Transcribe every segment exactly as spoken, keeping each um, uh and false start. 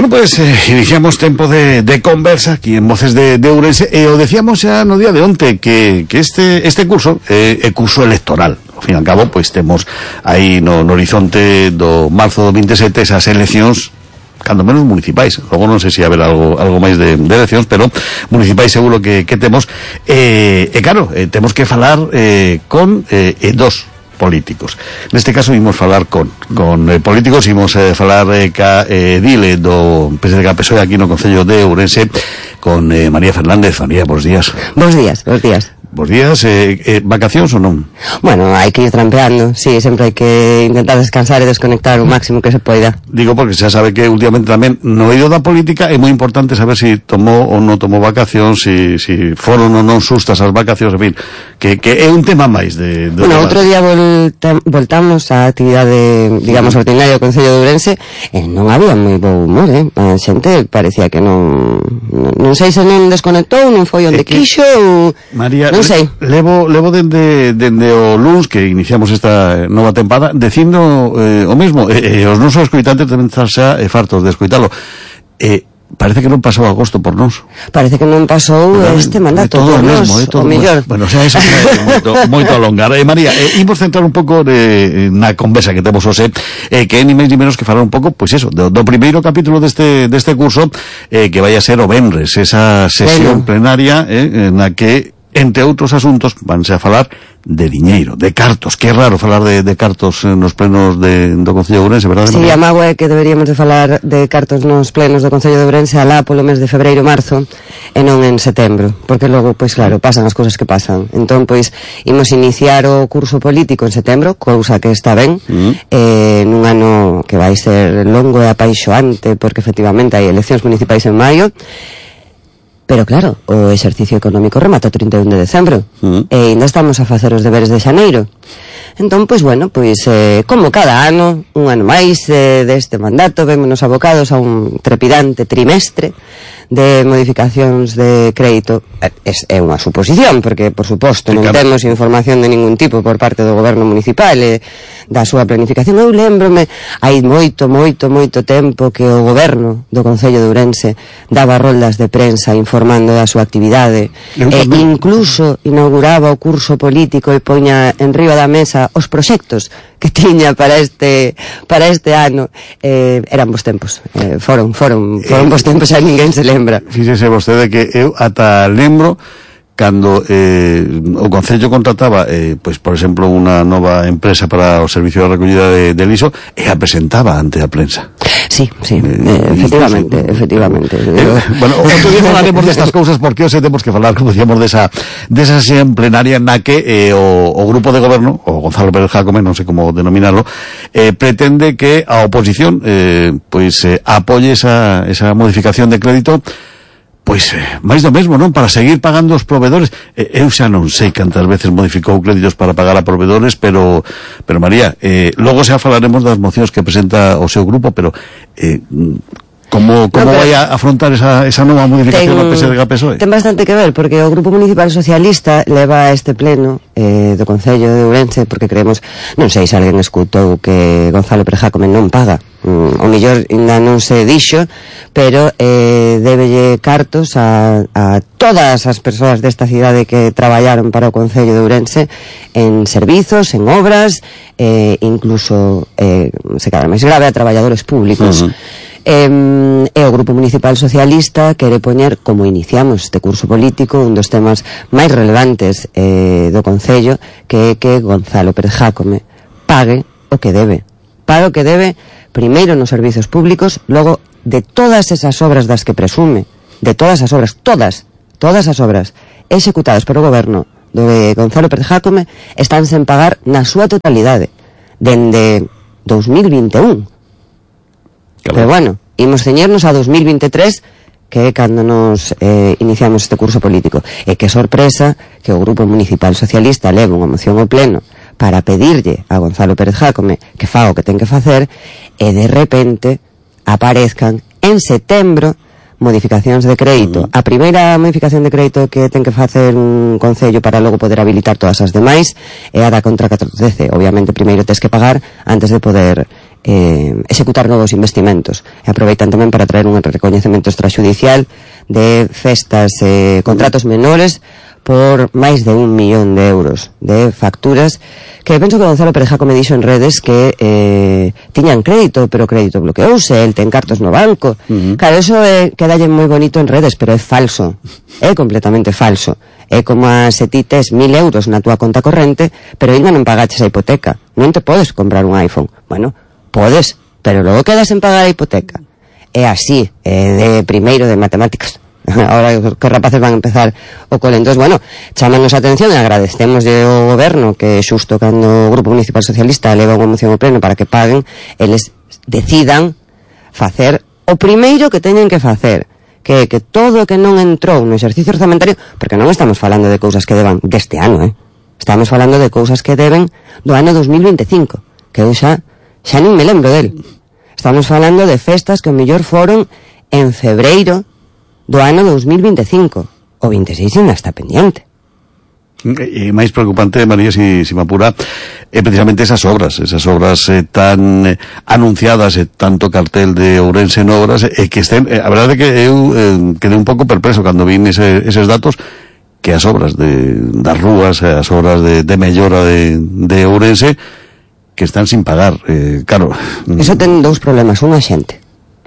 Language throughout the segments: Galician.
Bueno, pues eh, iniciamos tempo de, de conversa aquí en Voces de, de Ourense e o decíamos xa no día de onte que, que este este curso é eh, curso electoral. Ao fin e ao cabo, pois temos aí no, no horizonte do marzo do vinte e sete esas eleccións, cando menos municipais. Logo non sei se haber algo algo máis de, de eleccións, pero municipais seguro que, que temos. E, eh, eh, claro, eh, temos que falar eh, con eh, eh, dos políticos. Neste caso imos falar con con eh, políticos, imos eh, falar eh, ca eh, Dile do P S D G P S O E aquí no Concello de Ourense con eh, María Fernández. María, bons días. Bons días, bons días. Bos días, eh, eh, vacacións ou non? Bueno, hai que ir trampeando, sí, sempre hai que intentar descansar e desconectar o máximo que se poida. Digo porque xa sabe que últimamente tamén no eido da política é moi importante saber se si tomou ou non tomou vacacións, se si, si foron ou non sustas as vacacións, en fin, que, que é un tema máis de... de bueno, outro día volta, voltamos á actividade, digamos, ordinaria do Concello de Ourense e non había moi bo humor, eh? A xente parecía que non... Non sei se non desconectou, non foi onde quixo ou... María... Non sei. Levo, levo dende, dende o luns que iniciamos esta nova tempada dicindo eh, o mesmo, e eh, eh, os nosos escoitantes deben estar xa eh, fartos de escoitalo. Eh, parece que non pasou agosto por nós. Parece que non pasou pero, este mandato todo por mesmo, nós, eh, todo o mellor. Bueno, o sea, eso é moito, moito alongar. Eh, María, eh, imos centrar un pouco de, na conversa que temos hoxe, eh, que é ni máis ni menos que falar un pouco, pois pues eso, do, do primeiro capítulo deste, deste curso, eh, que vai a ser o venres, esa sesión bueno. plenaria, eh, na que entre outros asuntos vanse a falar de diñeiro, de cartos. Que é raro falar de, de cartos nos plenos de, do Concello de Ourense, verdade? Si, sí, a mágoa é que deberíamos de falar de cartos nos plenos do Concello de Ourense alá polo mes de febreiro marzo e non en setembro, porque logo, pois claro, pasan as cousas que pasan. Entón, pois, imos iniciar o curso político en setembro, cousa que está ben, mm. eh, nun ano que vai ser longo e apaixoante, porque efectivamente hai eleccións municipais en maio. Pero claro, o exercicio económico remata o trinta e un de decembro mm. e ainda estamos a facer os deberes de xaneiro. Entón, pois bueno, pois eh, como cada ano, un ano máis eh, deste mandato, vémonos abocados a un trepidante trimestre de modificacións de crédito. É, é unha suposición, porque, por suposto, non temos información de ningún tipo por parte do goberno municipal e da súa planificación. Eu lembrome, hai moito, moito, moito tempo que o goberno do Concello de Ourense daba roldas de prensa informando da súa actividade e incluso inauguraba o curso político e poña en riba da mesa os proxectos que tiña para este para este ano. Eh, eran bons tempos, eh, foron, foron, foron bons tempos e ninguén se lembra. Fíxese vostede que eu ata lembro cando eh, o Concello contrataba eh, pois, por exemplo, unha nova empresa para o servicio de recollida de, de liso e a presentaba ante a prensa. Sí, sí, eh, efectivamente, sí. efectivamente. Eh, bueno, outro día falaremos destas cousas porque hoxe temos que falar, como decíamos, desa desa sesión plenaria na que eh, o, o grupo de goberno, o Gonzalo Pérez Jácome, non sei como denominarlo, eh, pretende que a oposición eh, pois eh, apoie esa, esa modificación de crédito. Pois, eh, máis do mesmo, non? Para seguir pagando os provedores. Eh, eu xa non sei cantas veces modificou créditos para pagar a provedores, pero, pero María, eh, logo xa falaremos das mocións que presenta o seu grupo, pero eh, como, como no, vai a afrontar esa, esa nova modificación do P S D G P S O E? Ten bastante que ver, porque o Grupo Municipal Socialista leva a este pleno eh, do Concello de Ourense, porque creemos, non sei se alguén escutou que Gonzalo Pérez Jácome non paga. Mm, o mellor ainda non se dixo, pero eh, débelle cartos a, a todas as persoas desta cidade que traballaron para o Concello de Ourense en servizos, en obras, eh, incluso, eh, se cadra máis grave, a traballadores públicos. Uh-huh. Eh, e o Grupo Municipal Socialista quere poñer, como iniciamos este curso político, un dos temas máis relevantes eh, do Concello, que é que Gonzalo Pérez Jácome pague o que debe. Pague o que debe, primeiro nos servizos públicos, logo de todas esas obras das que presume, de todas as obras, todas, todas as obras executadas polo goberno de Gonzalo Pérez Jácome están sen pagar na súa totalidade dende dos mil vinte e un. Claro. Pero bueno, imos ceñernos a dos mil vinte e tres, que é cando nos eh, iniciamos este curso político. E que sorpresa que o Grupo Municipal Socialista leva unha moción ao pleno para pedirlle a Gonzalo Pérez Jácome que faga o que ten que facer, e de repente aparezcan en setembro modificacións de crédito. Uh-huh. A primeira modificación de crédito que ten que facer un concello para logo poder habilitar todas as demais é a da contra catorce. Obviamente primeiro tes que pagar antes de poder eh, executar novos investimentos. E aproveitan tamén para traer un recoñecemento extrajudicial de festas, eh, contratos menores por máis de un millón de euros de facturas que penso que Gonzalo Perejaco me dixo en redes que eh, tiñan crédito, pero crédito bloqueouse, el ten cartos no banco. Uh-huh. Claro, eso eh, quedalle moi bonito en redes, pero é falso, é completamente falso. É como a se ti tes mil euros na túa conta corrente, pero ainda non pagaches a hipoteca, non te podes comprar un iPhone. Bueno, podes, pero logo quedas en pagar a hipoteca. É así, é de primeiro de matemáticas. Ahora que rapaces van a empezar o cole. Entón, bueno, chámanos a atención e agradecemos ao goberno que xusto cando o Grupo Municipal Socialista leva unha moción ao pleno para que paguen, eles decidan facer o primeiro que teñen que facer, que que todo o que non entrou no exercicio orzamentario, porque non estamos falando de cousas que deban deste ano, eh? Estamos falando de cousas que deben do ano dos mil veinticinco, que eu xa xa non me lembro del. Estamos falando de festas que o mellor foron en febreiro do ano dos mil veinticinco. O veintiséis ainda está pendiente. E máis preocupante, María, si, si me apura, é precisamente esas obras, esas obras eh, tan eh, anunciadas, e eh, tanto cartel de Ourense en obras, e eh, que estén, eh, a verdade é que eu eh, quedei un pouco perpleso cando vin ese, eses datos, que as obras de, das rúas, as obras de, de mellora de, de Ourense, que están sin pagar, eh, claro. Eso ten dous problemas, unha xente.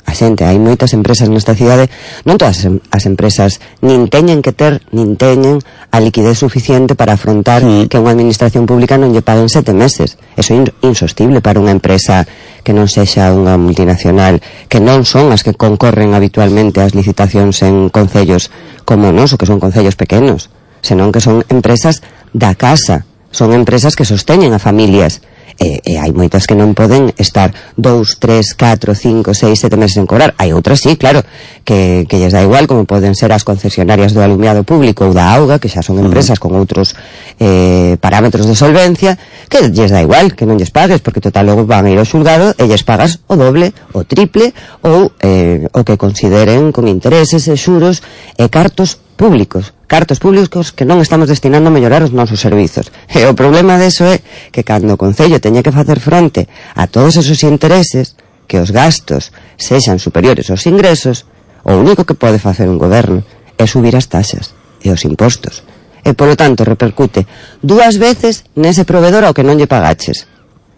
A xente, hai moitas empresas nesta cidade, non todas as empresas nin teñen que ter, nin teñen a liquidez suficiente para afrontar mm. que unha administración pública non lle paguen sete meses. Eso é insostible para unha empresa que non sexa unha multinacional, que non son as que concorren habitualmente ás licitacións en concellos como nos, ou que son concellos pequenos, senón que son empresas da casa, son empresas que sosteñen a familias. E, e hai moitas que non poden estar dous, tres, catro, cinco, seis, sete meses en cobrar. Hai outras, sí, claro, que, que lles dá igual, como poden ser as concesionarias do alumiado público ou da auga, que xa son empresas con outros eh, parámetros de solvencia, que lles dá igual que non lles pagues, porque total logo van a ir ao xulgado e lles pagas o doble, o triple, ou eh, o que consideren con intereses e xuros e cartos públicos, cartos públicos que non estamos destinando a mellorar os nosos servizos. E o problema deso é que cando o Concello teña que facer fronte a todos esos intereses, que os gastos sexan superiores aos ingresos, o único que pode facer un goberno é subir as taxas e os impostos. E, polo tanto, repercute dúas veces nese provedor ao que non lle pagaches.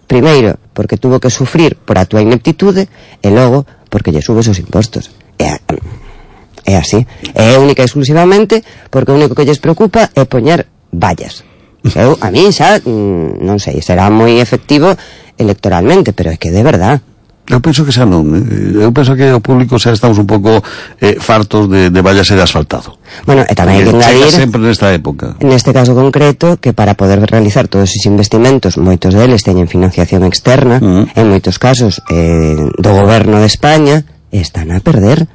Primeiro, porque tuvo que sufrir por a túa ineptitude, e logo, porque lle subes os impostos. E a... É así. É única e exclusivamente porque o único que lles preocupa é poñer vallas. Eu, a mí xa, non sei, será moi efectivo electoralmente, pero é que de verdad. Eu penso que xa non. Eu penso que o público xa estamos un pouco eh, fartos de, de vallas e de asfaltado. Bueno, e tamén hai que engadir, sempre nesta época, neste caso concreto, que para poder realizar todos esos investimentos, moitos deles teñen financiación externa, uh-huh. en moitos casos eh, do goberno de España, están a perder.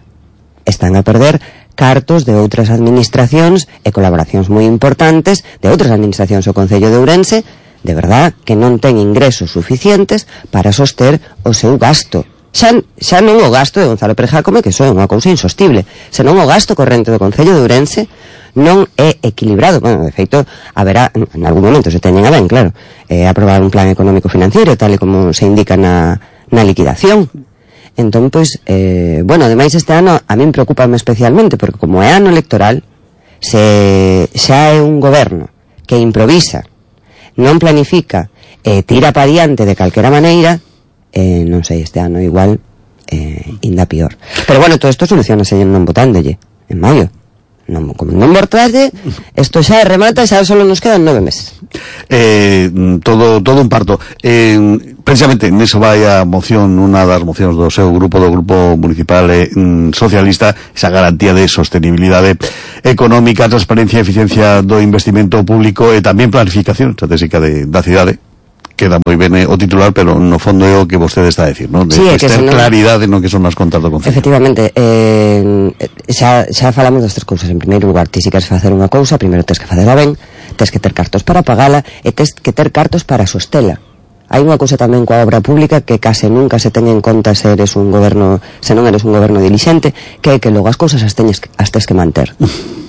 Están a perder cartos de outras administracións e colaboracións moi importantes de outras administracións do Concello de Ourense, de verdad que non ten ingresos suficientes para soster o seu gasto. Xa, xa non o gasto de Gonzalo Perejaco, que iso é unha cousa insostible, senón o gasto corrente do Concello de Ourense non é equilibrado. Bueno, de feito, haberá, en algún momento se teñen a ben, claro, eh, aprobar un plan económico financiero, tal e como se indica na, na liquidación. Entón, pois, eh, bueno, ademais este ano a min preocúpame especialmente, porque como é ano electoral, se xa é un goberno que improvisa, non planifica, e eh, tira pa diante de calquera maneira, eh, non sei, este ano igual eh, inda pior. Pero bueno, todo isto solucionase non votándolle en maio. Non, como non votalle, isto xa remata, xa só nos quedan nove meses. Eh, todo todo un parto. Eh, precisamente neso vai a moción, unha das mocións do seu grupo, do Grupo Municipal eh, Socialista, esa garantía de sostenibilidade económica, transparencia e eficiencia do investimento público e tamén planificación estratégica de, da cidade. Queda moi ben o titular, pero no fondo é o que vostede está a decir, non? De sí, ter senón... claridade no que son as contas do Concello. Efectivamente, eh, xa, xa falamos das tres cousas. En primeiro lugar, ti si queres facer unha cousa, primeiro tes que facela ben, tes que ter cartos para pagala e tes que ter cartos para sostela. Hai unha cousa tamén coa obra pública que case nunca se teña en conta se eres un goberno, se non eres un goberno dilixente, que é que logo as cousas as teñes as tes que manter.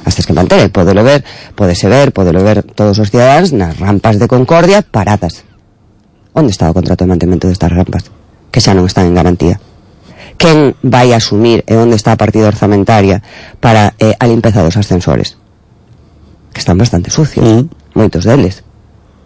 As tes que manter, podelo ver, podese ver, podelo ver todos os cidadáns nas rampas de Concordia paradas. Onde está o contrato de mantemento destas rampas? que xa non están en garantía. Quen vai asumir e onde está a partida orzamentaria para eh, a limpeza dos ascensores? Que están bastante sucios, mm. moitos deles.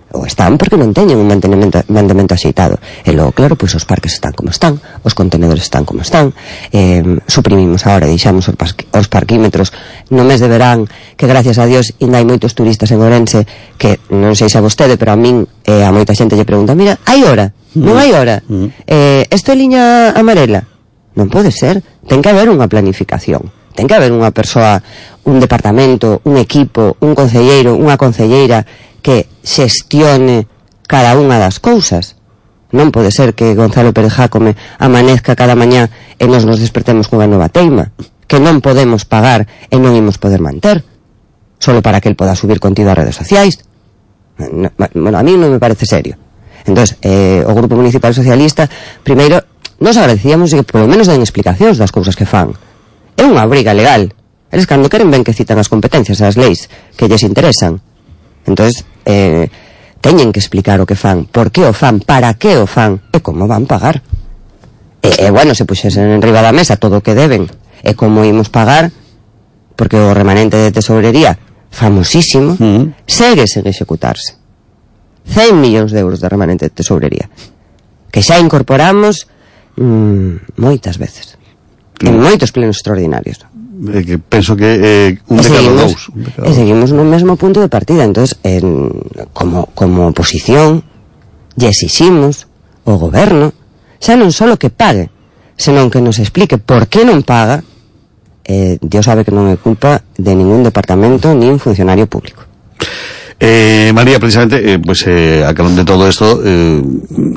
Ou están porque non teñen un mantenimento, mantenimento axeitado. E logo, claro, pois os parques están como están, os contenedores están como están, eh, suprimimos agora, deixamos os, os parquímetros no mes de verán, que gracias a Dios ainda hai moitos turistas en Ourense, que non sei se a vostede, pero a min eh, a moita xente lle pregunta, mira, hai hora? Non hai hora? Mm. Eh, esto é liña amarela? Non pode ser, ten que haber unha planificación, ten que haber unha persoa, un departamento, un equipo, un concelleiro, unha concelleira que xestione cada unha das cousas. Non pode ser que Gonzalo Pérez Jácome amanezca cada mañá e nos nos despertemos cunha nova teima que non podemos pagar e non imos poder manter solo para que el poda subir contido ás redes sociais. No, bueno, a mí non me parece serio. Entón, eh, o Grupo Municipal Socialista, primeiro, nos agradecíamos que polo menos den explicacións das cousas que fan. É unha obriga legal. Eles cando queren ben que citan as competencias, as leis que lles interesan. Entón, eh, teñen que explicar o que fan, por que o fan, para que o fan e como van pagar. E, e bueno, se puxesen en riba da mesa todo o que deben e como imos pagar, porque o remanente de tesourería famosísimo, mm. segue sen executarse. cen millóns de euros de remanente de tesourería que xa incorporamos mmm, moitas veces mm. en moitos plenos extraordinarios. Eh, que penso que eh, un de cada dous. E seguimos no mesmo punto de partida. Entonces, en, como, como oposición, lle exiximos o goberno xa non só que pague, senón que nos explique por que non paga. eh, Dios sabe que non é culpa de ningún departamento ni un funcionario público. Eh, María, precisamente, eh, pues eh, a calón de todo esto, eh,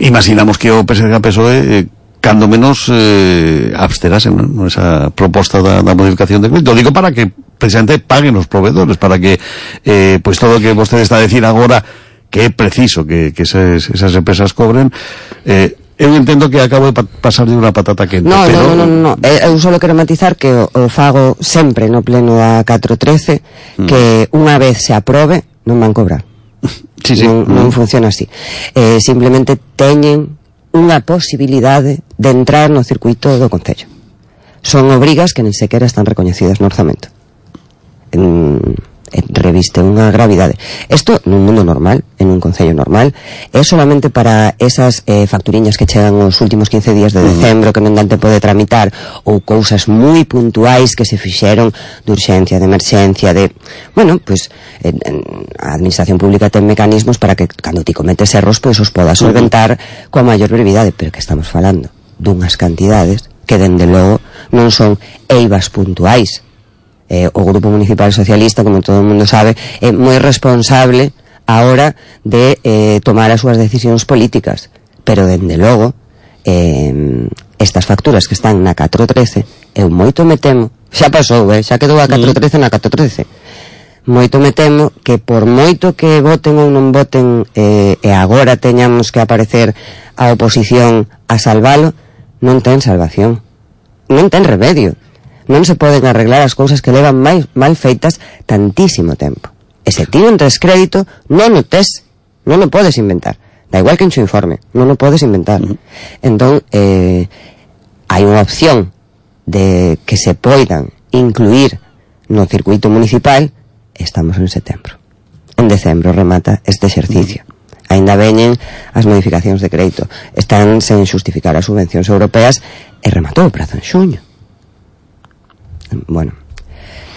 imaginamos que o P S D e P S O E eh, cando menos eh, absterasen, ¿no? Esa proposta da, da modificación de crédito. Digo para que precisamente paguen os proveedores, para que eh, pues todo o que vostede está a decir agora que é preciso que, que esas, esas empresas cobren. eh, eu entendo que acabo de pa pasar de unha patata quente. No, pero... no, no, no, no. Eu só quero matizar que o, o fago sempre no pleno da catro trece, mm. que unha vez se aprobe non van cobrar. Sí, sí. Non, non funciona así. Eh, simplemente teñen unha posibilidade de entrar no circuito do Concello. Son obrigas que nin sequera están recoñecidas no orzamento. En, en reviste unha gravidade. Isto nun mundo normal, en un Concello normal, é solamente para esas eh, facturiñas que chegan os últimos quince días de decembro, que non dan tempo de tramitar, ou cousas moi puntuais que se fixeron de urxencia, de emerxencia, de... Bueno, pois, pues, a administración pública ten mecanismos para que, cando ti cometes erros, pois pues, os podas solventar coa maior brevidade, pero que estamos falando dunhas cantidades que, dende logo, non son eivas puntuais. Eh, o Grupo Municipal Socialista, como todo o mundo sabe, é moi responsable a hora de eh, tomar as súas decisións políticas, pero dende logo eh, estas facturas que están na catro trece, eu moito me temo, xa pasou, eh, xa quedou a catro trece na catro trece, moito me temo que por moito que voten ou non voten eh, e agora teñamos que aparecer a oposición a salvalo, non ten salvación, non ten remedio. Non se poden arreglar as cousas que levan mal, mal feitas tantísimo tempo. E se ti non tes crédito, non o tes, non o podes inventar. Da igual que en xo informe, non o podes inventar. Uh-huh. Entón, eh, hai unha opción de que se poidan incluir no circuito municipal. Estamos en setembro. En decembro remata este exercicio. Uh-huh. Ainda veñen as modificacións de crédito. Están sen xustificar as subvencións europeas e rematou o prazo en xuño. Bueno,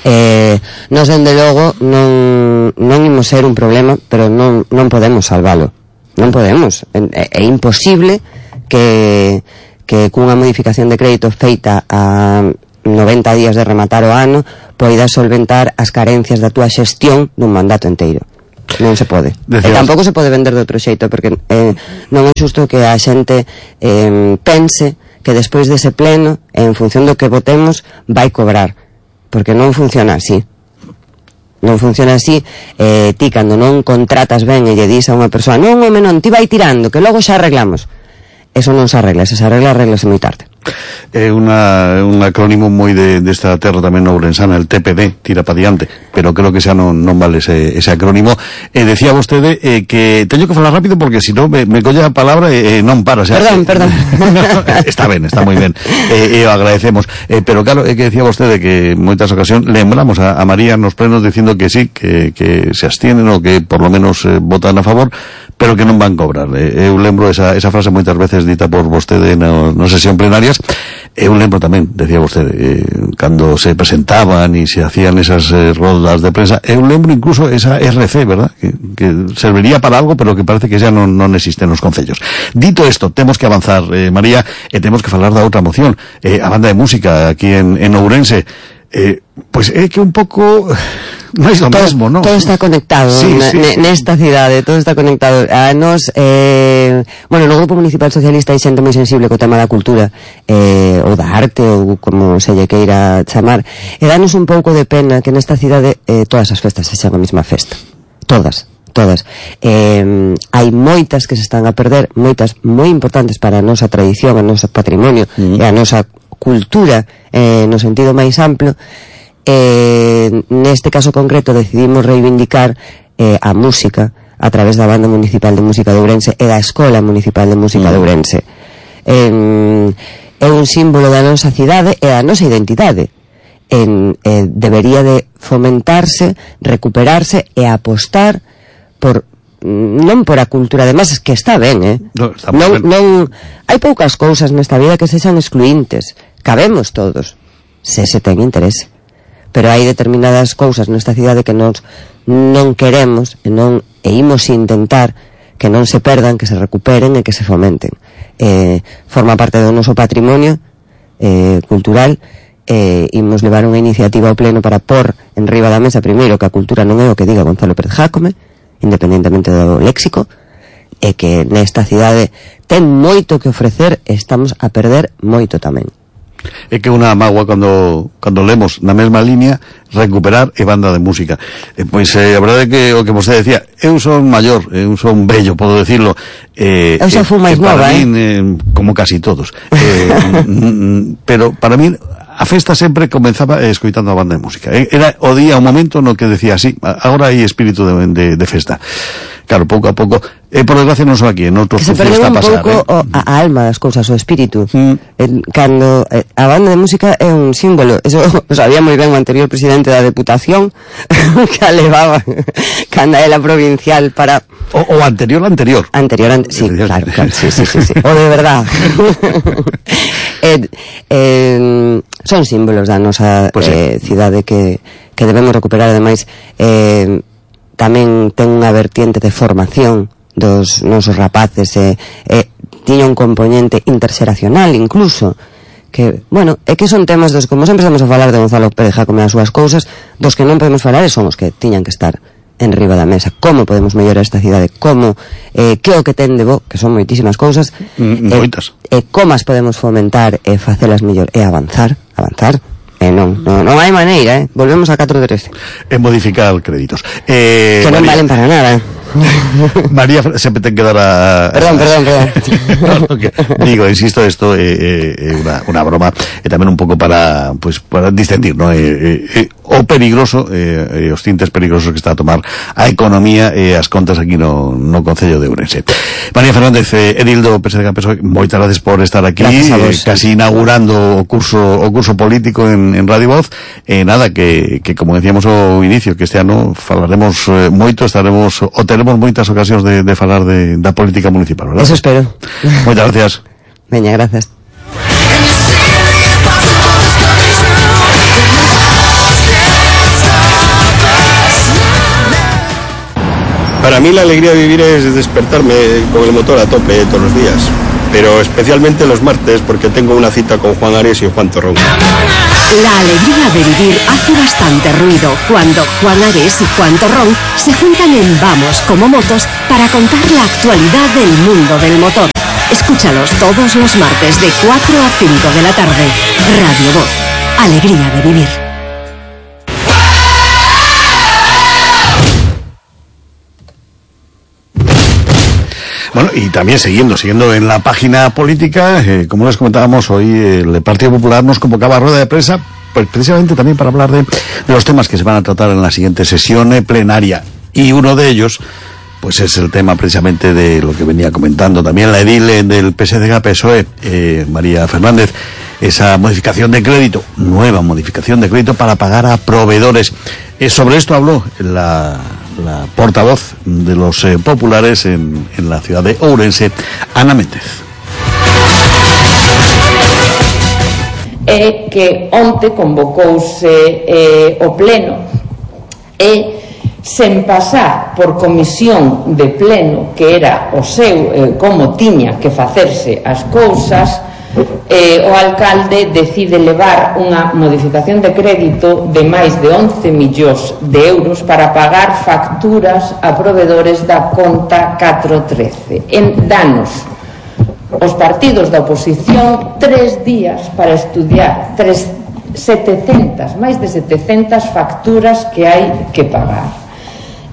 eh, nos dende logo non, non imos ser un problema, pero non, non podemos salvalo, non podemos, é, é imposible que, que cunha modificación de crédito feita a noventa días de rematar o ano poidas solventar as carencias da túa xestión dun mandato enteiro. Non se pode. Decías... E tampouco se pode vender de outro xeito, porque eh, non é xusto que a xente eh, pense que despois dese pleno, en función do que votemos, vai cobrar. Porque non funciona así. Non funciona así. Eh, ti, cando non contratas ben e lle dis a unha persoa, non, home, non, ti vai tirando, que logo xa arreglamos. Eso non se arregla, se se arregla, arreglase moi tarde. É una, un acrónimo moi de, desta terra tamén ourensana, el T P D, tira pa diante, pero creo que xa non, non vale ese, ese acrónimo. Eh, decía vostede eh, que teño que falar rápido porque si non me, me colle a palabra e eh, non para. Xa, perdón, eh, perdón. Está ben, está moi ben. E eh, eh, agradecemos. Eh, pero claro, é eh, que decía vostede que en moitas ocasións lembramos a, a María nos plenos dicindo que sí, que, que se abstienen ou que por lo menos eh, votan a favor, pero que non van cobrar. Eh, eu lembro esa, esa frase moitas veces dita por vostede na, na sesión plenarias. Eu lembro tamén, decía vostede, eh, cando se presentaban e se hacían esas eh, rodas de prensa, eu lembro incluso esa R C, verdad? Que, que serviría para algo, pero que parece que xa non, non existen nos concellos. Dito isto, temos que avanzar, eh, María, e temos que falar da outra moción, eh, a banda de música aquí en, en Ourense. Eh, pois é que un pouco máis lo mesmo, non? Todo está conectado, sí, sí, sí. Nesta cidade, todo está conectado. A nos, eh, bueno, no Grupo Municipal Socialista hai xente moi sensible co tema da cultura, eh, ou da arte, ou como se lle queira chamar, e danos un pouco de pena que nesta cidade eh, todas as festas sexan a mesma festa. Todas. Todas. Eh, hai moitas que se están a perder, moitas moi importantes para a nosa tradición, a noso patrimonio, mm. e a nosa cultura eh, no sentido máis amplo. Eh, neste caso concreto decidimos reivindicar eh, a música a través da Banda Municipal de Música de Ourense e da Escola Municipal de Música mm. de Ourense. Eh, é un símbolo da nosa cidade e da nosa identidade. En, eh, debería de fomentarse, recuperarse e apostar por non por a cultura de masas, que está ben, eh? No, está non, ben. non, hai poucas cousas nesta vida que sexan excluintes. Cabemos todos, se se ten interese. Pero hai determinadas cousas nesta cidade que nos non queremos e non e imos intentar que non se perdan, que se recuperen e que se fomenten. Eh, forma parte do noso patrimonio eh, cultural. Eh, imos levar unha iniciativa ao pleno para pôr en riba da mesa primeiro que a cultura non é o que diga Gonzalo Pérez Jácome, independentemente do léxico, e que nesta cidade ten moito que ofrecer e estamos a perder moito tamén. É que unha mágoa cando, cando lemos na mesma línea recuperar e banda de música. Eh, pois eh, a verdade é que o que vostede decía, eu son maior, eu son bello, podo decirlo. Eh, eu xa fui máis nova, eh? Min, eh, como casi todos. Eh, pero para min a festa sempre comenzaba eh, escoitando a banda de música. Eh, era o día, o momento no que decía así, agora hai espírito de, de, de festa. Claro, pouco a pouco, eh, por desgracia non só aquí, en outros sitios está a pasar. Se perdeu un pouco eh? a, a alma das cousas, o espírito. Mm. Eh, cando eh, a banda de música é un símbolo, eso o sabía moi ben o anterior presidente da Deputación, que a levaba cando era provincial para... O, o anterior anterior. Anterior, an... sí, claro, claro, sí, sí, sí, sí. O de verdad. eh, eh, son símbolos da nosa pues eh, sí. cidade que, que debemos recuperar. Ademais, eh, tamén ten unha vertiente de formación dos nosos rapaces, e eh, eh, tiña un componente interxeracional incluso, que, bueno, é que son temas dos, como sempre estamos a falar de Gonzalo Pérez Jácome as súas cousas, dos que non podemos falar e son os que tiñan que estar en riba da mesa. Como podemos mellorar esta cidade, como, eh, que o que ten de bo, que son moitísimas cousas, mm, eh, moitas, e como as podemos fomentar e facelas mellor, e avanzar, avanzar. Eh, non, non, non hai maneira, eh? Volvemos a catro de trece. E modificar créditos. Eh, que non María, valen para nada, eh? María sempre ten que dar a... Perdón, perdón, perdón. no, no, que, digo, insisto, esto é eh, eh, una, una broma, e tamén un pouco para, pues, para distendir, ¿no? Eh, eh, o peligroso, eh, os tintes peligrosos que está a tomar a economía e as contas aquí no, no Concello de Ourense. María Fernández, eh, Edildo Pérez de Campeso, moitas gracias por estar aquí, vos, eh, casi inaugurando o curso o curso político en, en Radio Voz. Eh, nada, que, que como decíamos ao inicio, que este ano falaremos eh, moito, estaremos o teremos moitas ocasións de, de falar de, da política municipal, verdad? Eso espero. Moitas gracias. Veña, gracias. Para mí la alegría de vivir es despertarme con el motor a tope todos los días, pero especialmente los martes porque tengo una cita con Juan Ares y Juan Torrón. La alegría de vivir hace bastante ruido cuando Juan Ares y Juan Torrón se juntan en Vamos como Motos para contar la actualidad del mundo del motor. Escúchalos todos los martes de cuatro a cinco de la tarde. Radio Voz. Alegría de vivir. Bueno, y también siguiendo, siguiendo en la página política, eh, como les comentábamos hoy, el Partido Popular nos convocaba a rueda de prensa, pues precisamente también para hablar de, de los temas que se van a tratar en la siguiente sesión plenaria. Y uno de ellos, pues es el tema precisamente de lo que venía comentando también la edil del P S D G P S O E, eh, María Fernández, esa modificación de crédito, nueva modificación de crédito para pagar a proveedores. Eh, sobre esto habló la, la portavoz de los eh, populares en, en la ciudad de Ourense, Ana Méndez. É que onte convocouse eh, o pleno e sen pasar por comisión de pleno, que era o seu, eh, como tiña que facerse as cousas, eh, o alcalde decide levar unha modificación de crédito de máis de once millóns de euros para pagar facturas a proveedores da conta catro trece. En danos os partidos da oposición tres días para estudiar tres, setecentas, máis de setecentas facturas que hai que pagar.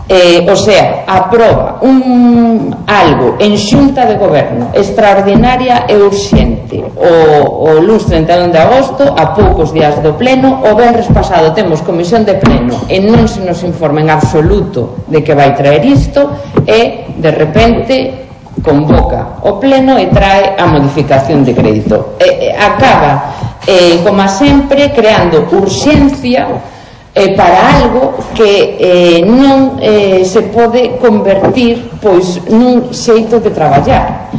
Eh, o sea, aproba un, algo en xunta de goberno extraordinaria e urxente o, o luns trinta e un de agosto, a poucos días do pleno. O venres pasado temos comisión de pleno e non se nos informa en absoluto de que vai traer isto, e de repente convoca o pleno e trae a modificación de crédito. E, e, acaba, eh, como sempre, creando urxencia eh, para algo que eh, non eh, se pode convertir pois nun xeito de traballar.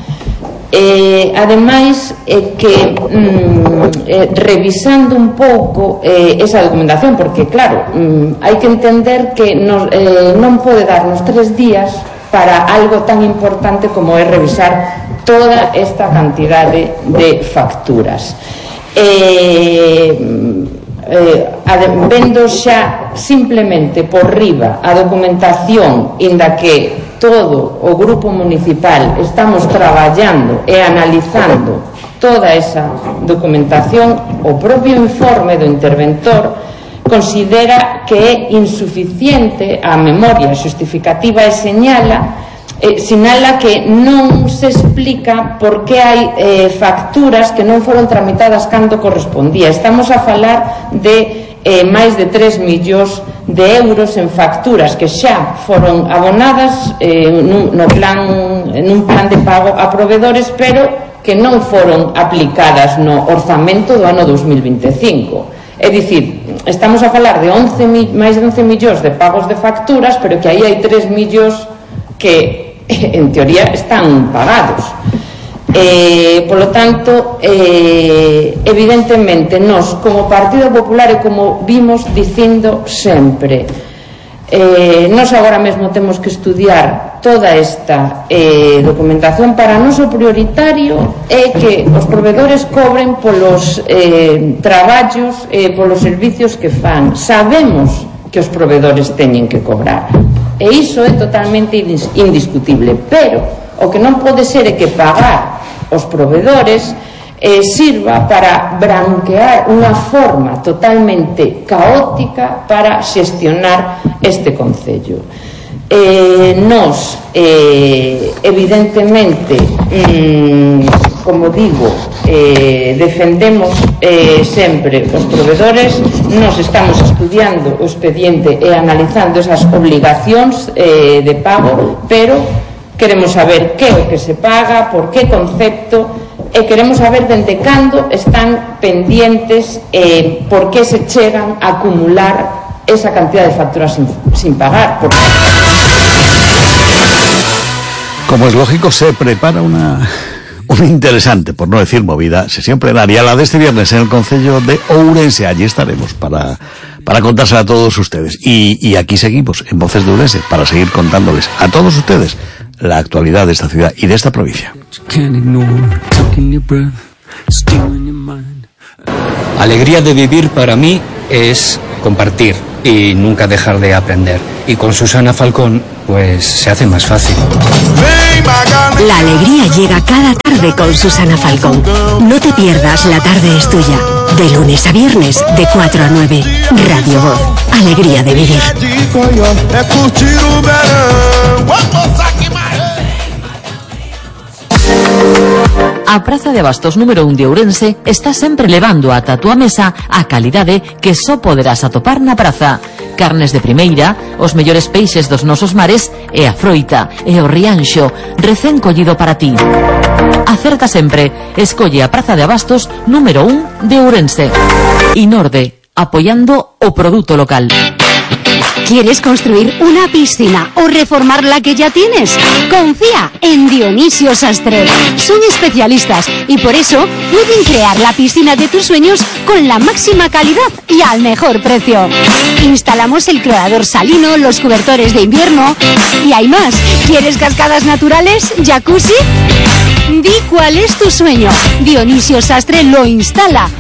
Eh, ademais, eh, que mm, eh, revisando un pouco eh, esa documentación, porque claro, mm, hai que entender que nos, eh, non pode darnos tres días para algo tan importante como é revisar toda esta cantidade de facturas. Eh, eh, vendo xa simplemente por riba a documentación inda que todo o grupo municipal estamos traballando e analizando toda esa documentación, o propio informe do interventor considera que é insuficiente a memoria xustificativa e señala eh, sinala que non se explica por que hai eh, facturas que non foron tramitadas cando correspondía. Estamos a falar de eh, máis de tres millóns de euros en facturas que xa foron abonadas eh, nun, no plan, nun plan de pago a proveedores, pero que non foron aplicadas no orzamento do ano dos mil vinte e cinco. É dicir, estamos a falar de once, máis de once millóns de pagos de facturas, pero que aí hai tres millóns que, en teoría, están pagados. Eh, polo tanto, eh, evidentemente, nós, como Partido Popular, e como vimos dicindo sempre, eh, nós agora mesmo temos que estudiar toda esta eh, documentación. Para nós o prioritario é que os proveedores cobren polos eh, traballos e eh, polos servicios que fan. Sabemos que os proveedores teñen que cobrar e iso é totalmente indiscutible, pero o que non pode ser é que pagar os proveedores eh, sirva para branquear unha forma totalmente caótica para xestionar este concello. Eh, nos, eh, evidentemente, mm, como digo, eh, defendemos eh, sempre os proveedores. Nos estamos estudiando o expediente e analizando esas obligacións eh, de pago, pero queremos saber que é o que se paga, por que concepto, e queremos saber dende cando están pendientes, eh, por que se chegan a acumular esa cantidad de facturas sin, sin pagar. Porque... Como es lógico, se prepara una, una interesante, por no decir movida, sesión plenaria, la de este viernes en el concello de Ourense. Allí estaremos para, para contársela a todos ustedes. Y, y aquí seguimos, en Voces de Ourense, para seguir contándoles a todos ustedes la actualidad de esta ciudad y de esta provincia. Alegría de vivir para mí es compartir y nunca dejar de aprender. Y con Susana Falcón, pues se hace más fácil. La alegría llega cada tarde con Susana Falcón. No te pierdas La Tarde es Tuya. De lunes a viernes, de cuatro a nueve. Radio Voz. Alegría de vivir. A Praza de Abastos número un de Ourense está sempre levando ata a túa mesa a calidade que só poderás atopar na praza. Carnes de primeira, os mellores peixes dos nosos mares e a froita e o rianxo recén collido para ti. Acerta sempre, escolle a Praza de Abastos número un de Ourense. Inorde, apoyando o produto local. ¿Quieres construir una piscina o reformar la que ya tienes? Confía en Dionisio Sastre. Son especialistas y por eso pueden crear la piscina de tus sueños con la máxima calidad y al mejor precio. Instalamos el clorador salino, los cobertores de invierno y hay más. ¿Quieres cascadas naturales? ¿Jacuzzi? Di cuál es tu sueño. Dionisio Sastre lo instala.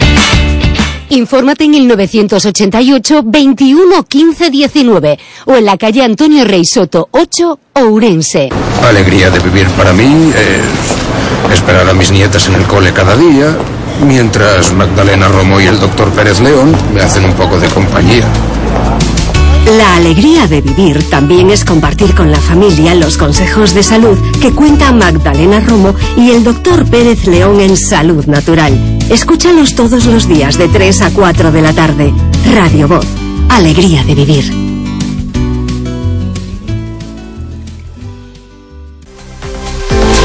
Infórmate en el novecientos ochenta y ocho, veintiuno, quince, diecinueve o en la calle Antonio Rey Soto ocho, Ourense. Alegría de vivir para mí es esperar a mis nietas en el cole cada día, mientras Magdalena Romo y el doctor Pérez León me hacen un poco de compañía. La alegría de vivir también es compartir con la familia los consejos de salud que cuentan Magdalena Romo y el doctor Pérez León en Salud Natural. Escúchalos todos los días de tres a cuatro de la tarde. Radio Voz. Alegría de vivir.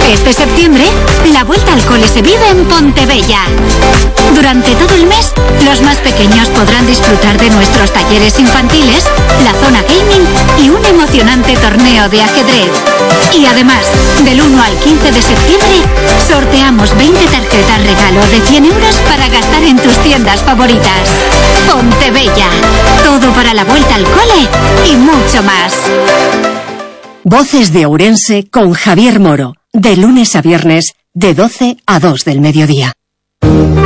Este septiembre, la vuelta al cole se vive en Pontebella. Durante todo el mes, los más pequeños podrán disfrutar de nuestros talleres infantiles, la zona gaming y un emocionante torneo de ajedrez. Y además, del uno al quince de septiembre, sorteamos veinte tarjetas regalo de cien euros para gastar en tus tiendas favoritas. Pontebella. Todo para la vuelta al cole y mucho más. Voces de Ourense con Javier Moro. De lunes a viernes, de doce a dos del mediodía.